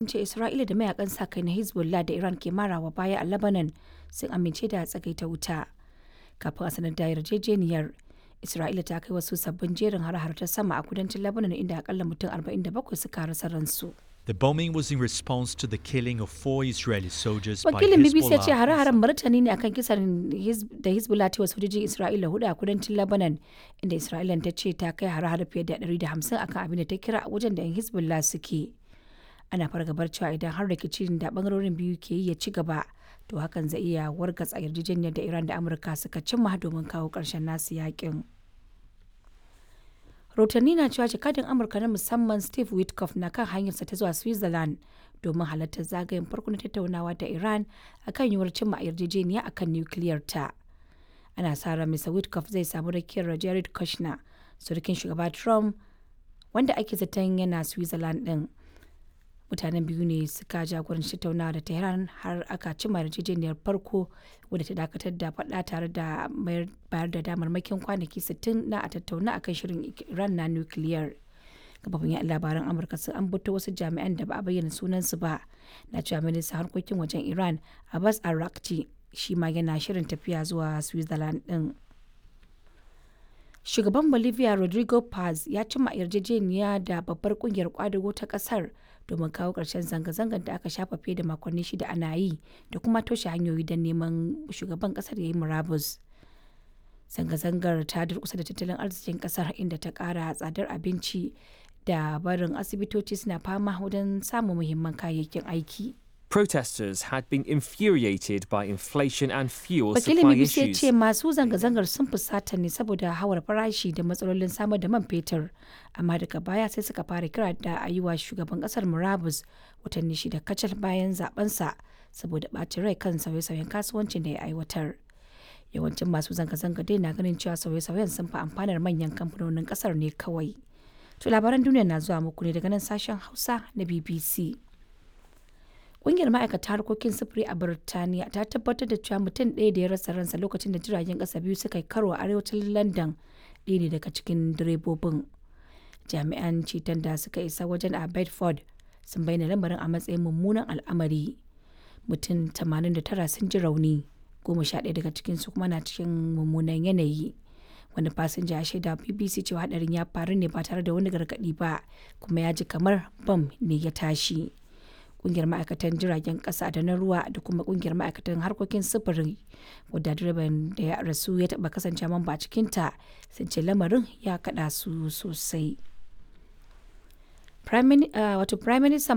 Sun ce Isra'ila da mayakan sa-kai na Hezbollah da Iran ke marawa baya a Lebanon sun amince da tsagaita wuta. Kafin a sanar da yarjejeniyar, Isra'ila ta kai wasu sabbin jerin hare-hare ta sama a kudancin Lebanon inda akalla mutum 47 suka rasa ransu. The bombing was in response to the killing of four Israeli soldiers by Wakilin BBC ya ce Hezbollah. hare-haren martani ne akan kisan da Hezbollah ta yi wa sojojin Isra'ila hudu a kudancin Lebanon, inda Isra'ilan ta ce ta kai hare-hare fiye da 150 akan abin da ta kira wajen da 'yan Hezbollah suke. Ana fargabar cewa idan har rikicin da bangarorin biyu ke yi ya ci gaba, to hakan zai iya wargatsa yarjejeniyar da Iran da Amurka suka cimma domin kawo ƙarshen nasu yakin. Rahotanni na cewa jakadin Amurka na musamman Steve Witkoff na kan hanyarsa ta zuwa Switzerland domin halartar zagayen farko na tattaunawa da Iran akan yiwuwar cimma yarjejeniya akan nukiliyar ta. Ana sa ran Mr. Witkoff zai samu rakiyar Jared Kushner, surukin shugaba Trump, wanda ake zaton yana Switzerland din. Mutanen biyu ne suka jagoranci tattaunawa da Tehran har aka cimma yarjejeniyar farko wadda ta dakatar da faɗa tare da bayar da damarmakin kwanaki 60 na a tattauna akan shirin Iran na nukiliyar. Kafofin yaɗa labaran Amurka sun ambato wasu jami'an da ba a bayyana sunansu ba na cewa ministan harkokin wajen Iran Abbas Araghchi shi ma yana shirin tafiya zuwa Switzerland din. Shugaban Bolivia Rodrigo Paz ya cimma yarjejeniya da babbar kungiyar kwadago ta kasar domin kawo ƙarshen zanga-zangar da aka shafa fiye da makonni shida ana yi da kuma toshe hanyoyi don neman shugaban kasar ya yi murabus. Zanga-zangar ta durkusa da tattalin arzikin kasar inda ta ƙara tsadar abinci da barin asibitoci suna fama wajen samun muhimman kayayyakin aiki. Protesters had been infuriated by inflation and fuel Wakilin supply BBC ya issues. ce masu zanga-zangar sun fusata ne saboda hawar farashi da matsalolin samar da man fetur, amma daga baya sai suka fara kira da a yi wa shugaban kasar murabus watanni shida kacal bayan zabensa saboda ɓacin rai kan sauye-sauyen kasuwancin da ya aiwatar. Yawancin masu zanga-zanga dai na ganin cewa sauye-sauyen sun fi amfanar manyan kamfanonin kasar ne kawai. To labaran duniya na zuwa muku ne daga nan sashen Hausa na BBC. Ƙungiyar ma'aikata harkokin sufuri a Birtaniya ta tabbatar da cewa mutum ɗaya da ya rasa ransa lokacin da jiragen ƙasa biyu suka yi karo a arewacin London ɗaya ne daga cikin direbobin. Jami'an ceton da suka isa wajen a Bedford sun bayyana lamarin a matsayin mummunan al'amari. Mutum 89 sun ji rauni, 11 daga cikinsu kuma na cikin mummunan yanayi. Wani fasinja ya shaida wa BBC cewa hadarin ya faru ne ba tare da wani gargaɗi ba, kuma ya ji kamar bam ne ya tashi. Kungiyar ma'aikatan jiragen kasa da na ruwa da kuma kungiyar ma'aikatan harkokin sufuri wadda direban da ya rasu ya taba kasance mamba a cikinta sun ce lamarin ya kada su sosai. Wato Prime Minister